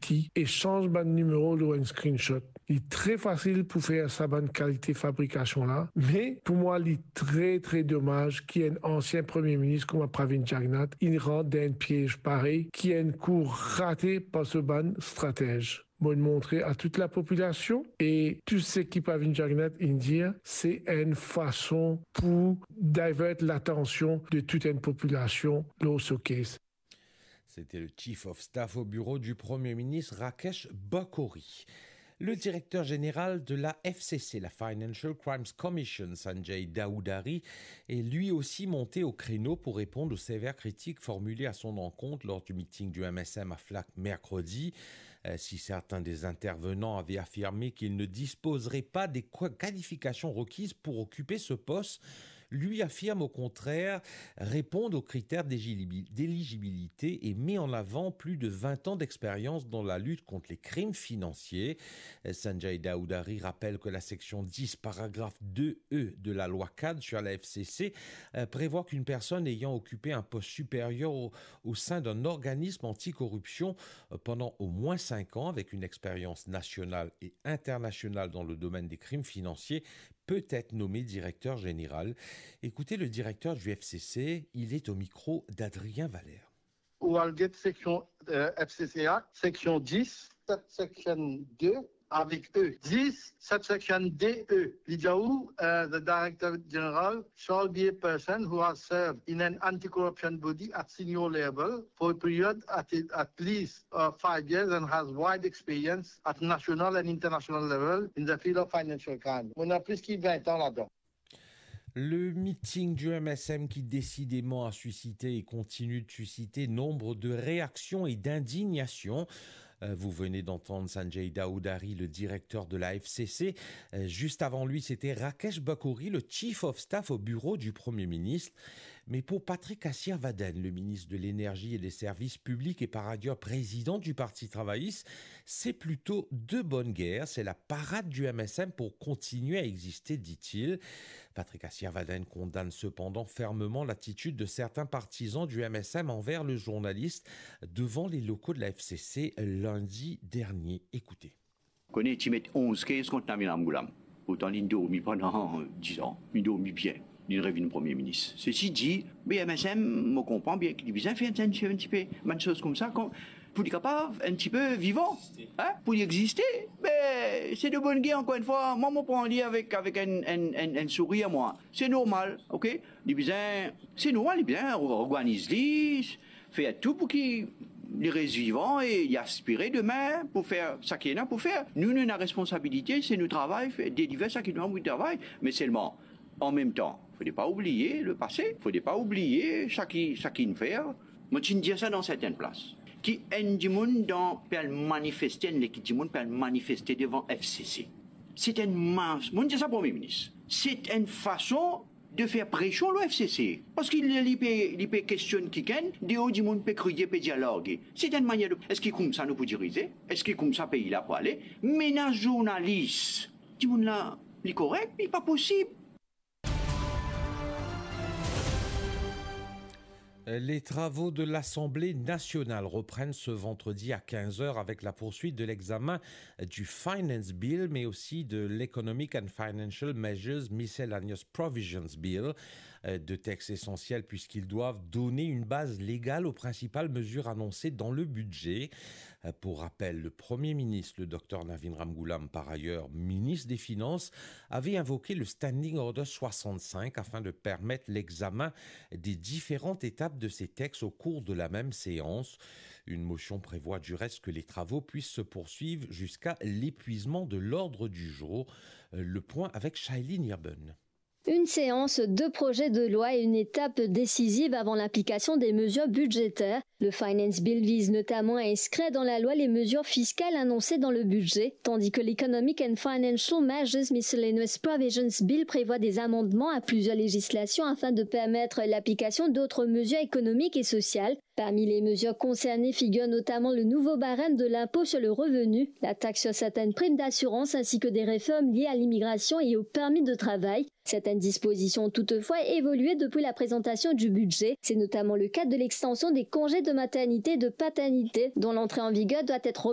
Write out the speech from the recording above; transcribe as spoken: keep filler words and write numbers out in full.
ki esanz bann nimero lor enn screenshot. Li tre fasil pou fer sa bann kalite fabrikasion la, me pou mwa li tre, tre domaz ki enn ansien Premie Minis kouma Pravind Jugnauth, inn rant dan enn piez parey ki enn kou rate par so bann stratez. Mo montre a tout lapopilasion e tou seki Pravind Jugnauth inn dir, se enn fason pou divert latansion de tout enn popilasion lor so case. C'était le Chief of Staff au bureau du Premier ministre Rakesh Bakori. Le directeur général de la F C C, la Financial Crimes Commission, Sanjay Dowdhury, est lui aussi monté au créneau pour répondre aux sévères critiques formulées à son encontre lors du meeting du M S M à Flacq mercredi. Euh, si certains des intervenants avaient affirmé qu'il ne disposerait pas des qua-, qualifications requises pour occuper ce poste, lui affirme au contraire répondre aux critères d'éligibi-, d'éligibilité et met en avant plus de vingt ans d'expérience dans la lutte contre les crimes financiers. Euh, Sanjay Dowdhury rappelle que la section dix, paragraphe deux E de la loi cadre sur la F C C, euh, prévoit qu'une personne ayant occupé un poste supérieur au, au sein d'un organisme anticorruption, euh, pendant au moins cinq ans, avec une expérience nationale et internationale dans le domaine des crimes financiers, peut être nommé directeur général. Écoutez le directeur du F C C, il est au micro d'Adrien Valère. Ou al get seksion, euh, F C C Act, seksion dix, subsection deux, avec E. Dix, subsection deux E. Li dir ou, euh, the Director General shall be a person who has served in an anti-corruption body at senior level for a period at, at least, uh, five years and has wide experience at national and international level in the field of financial crime. Mo ena plis ki vingt an ladan. Le meeting du M S M qui décidément a suscité et continue de susciter nombre de réactions et d'indignation. Euh, vous venez d'entendre Sanjay Dowdhury, le directeur de la F C C. Euh, juste avant lui, c'était Rakesh Bakori, le Chief of Staff au bureau du Premier ministre. Mais pour Patrick Asirvaden, le ministre de l'Énergie et des Services publics et par ailleurs président du Parti travailliste, c'est plutôt de bonne guerre. C'est la parade du M S M pour continuer à exister, dit-il. Patrick Asirvaden condamne cependant fermement l'attitude de certains partisans du M S M envers le journaliste devant les locaux de la F C C lundi dernier. Écoutez. Kone ti met onz case kont Navin Ramgoolam. Pourtan, li'nn dormi pandan diz an. Li'nn dormi bien. Li'nn revinn Premie Minis. Sesi di, be M S M, mo konpran bien ki li bizin fer enn, enn tipe bann soz koumsa, kon, pou li kapav enn tipe vivan, hein, pou li existe. Me se de bonn guerre, ankor enn fwa, mwa, mo pran li avek, avek enn, enn, enn, enn sourir, mwa. Se normal, ok? Li bizin, se normal, li bizin or-, organiz li, fer tou pou ki li res vivan e li aspire demin pou fer seki ena pou fer. Nou, nou ena responsabilite, se nou travay, fer, deliver seki nou ena pou travay. Me selman, an mem tan, fode pa oubliye lepase, fode pa oubliye seki, seki nou fer. Mo ti dir sa dan sertenn plas, ki enn dimoun dan, pe al manifeste, enn lekip dimoun pe al manifeste devan F C C. Se enn mas-, mo dir sa Premie Minis. Se enn fason de fer presion lor F C C. Parski li, li pe, li pe kestionn kikenn, deor dimoun pe kriye, pe dir large. Se enn manier de, eski koumsa nou pou dirize? Eski koumsa pei la pou ale? Menas zournalis. Dimoun la, li korek, li pa posib. Les travaux de l'Assemblée nationale reprennent ce vendredi à quinze heures avec la poursuite de l'examen du Finance Bill, mais aussi de l'Economic and Financial Measures Miscellaneous Provisions Bill, euh, deux textes essentiels puisqu'ils doivent donner une base légale aux principales mesures annoncées dans le budget. Euh, pour rappel, le Premier ministre, le docteur Navin Ramgoolam, par ailleurs ministre des Finances, avait invoqué le Standing Order soixante-cinq afin de permettre l'examen des différentes étapes de ces textes au cours de la même séance. Une motion prévoit du reste que les travaux puissent se poursuivre jusqu'à l'épuisement de l'ordre du jour. Euh, le point avec Shailene Irben. Une séance, deux projets de loi et une étape décisive avant l'application des mesures budgétaires. Le Finance Bill vise notamment à inscrire dans la loi les mesures fiscales annoncées dans le budget, tandis que l'Economic and Financial Measures Miscellaneous Provisions Bill prévoit des amendements à plusieurs législations afin de permettre l'application d'autres mesures économiques et sociales. Parmi les mesures concernées figurent notamment le nouveau barème de l'impôt sur le revenu, la taxe sur certaines primes d'assurance ainsi que des réformes liées à l'immigration et au permis de travail. Certaines dispositions ont toutefois évolué depuis la présentation du budget. C'est notamment le cas de l'extension des congés de maternité et de paternité, dont l'entrée en vigueur doit être